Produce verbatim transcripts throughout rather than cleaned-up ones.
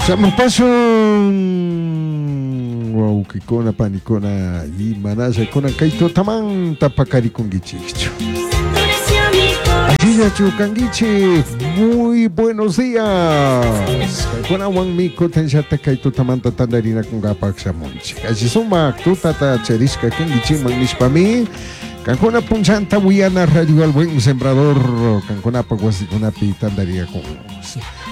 Shamupasun wawqikuna panikuna imanalla kay tutamanta paqarikunkichikchu. Allillachu kankichik, muy buenos días. Kaykunawanmi kutinllata kay tutamanta tantarinakunkapaq shamunchik. Alli sumak tutata charishka kankichikman nishpami kankuna punchanta wiyana Radio El Buen Sembrador kankunapaq wasikunapi tantariyakun.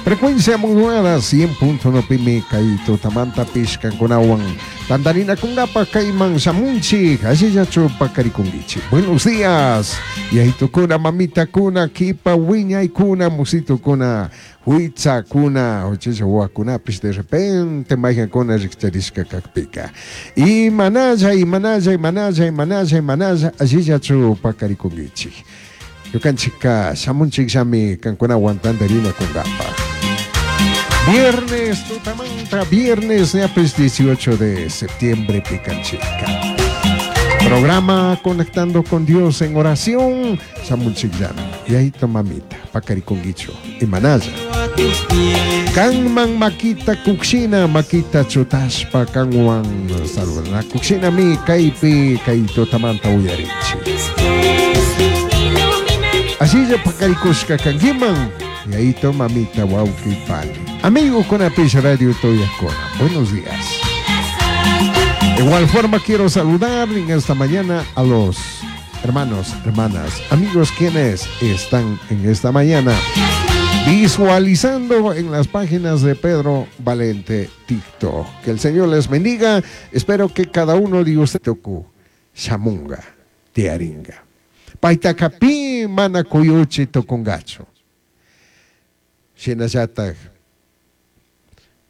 Frecuencia modulada cien punto uno pimi kay tutamantapish kankunawan tantarinakunkapaq kayman shamunchik. Allillachu paqarikunkichik. Buenos días. Yayitukuna, mamitakuna, kipa wiñaykuna, musitukuna, huitzakuna, uchilla wawakunapish de repente mayqankuna rikcharishka kakpika. Imanalla, imanalla, imanalla, imanalla, imanalla, allillachu paqarikunkichik. Ñukanchikka shamunchikllami kankunawan tantarinakunkapaq. Viernes tutamanta, viernes ñapis dieciocho de septiembre pikanchika. Programa Conectando con Dios en Oración, shamunchikllami. Yayito, mamita, paqarikunkichu, imanalla. Kanman makita kukshina, makita chutashpa kanwan saludanakukshinami kaypi kay tutamanta uyarichik. Asilla paqarikushka kankiman, yayito, mamita, wawqi, pani. Amigo kunapish radio tuyakuna. Buenos días. De igual forma quiero saludar en esta mañana a los hermanos, hermanas, amigos quienes están en esta mañana visualizando en las páginas de Pedro Valente TikTok. Que el Señor les bendiga. Espero que cada uno de ustedes toku shamunga, tiaringa. Paitaca pi mana kuyuchi tukungachu. Shinallatak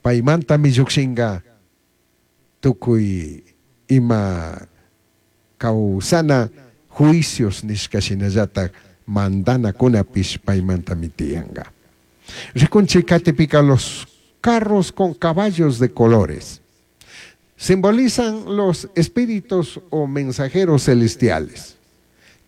paimantami llukshinga tukuy ima kawsana juicios nishka shinallatak mandanakunapish paimantami tiyanka. Rikunchik katipika los carros con caballos de colores simbolizan los espíritus o mensajeros celestiales.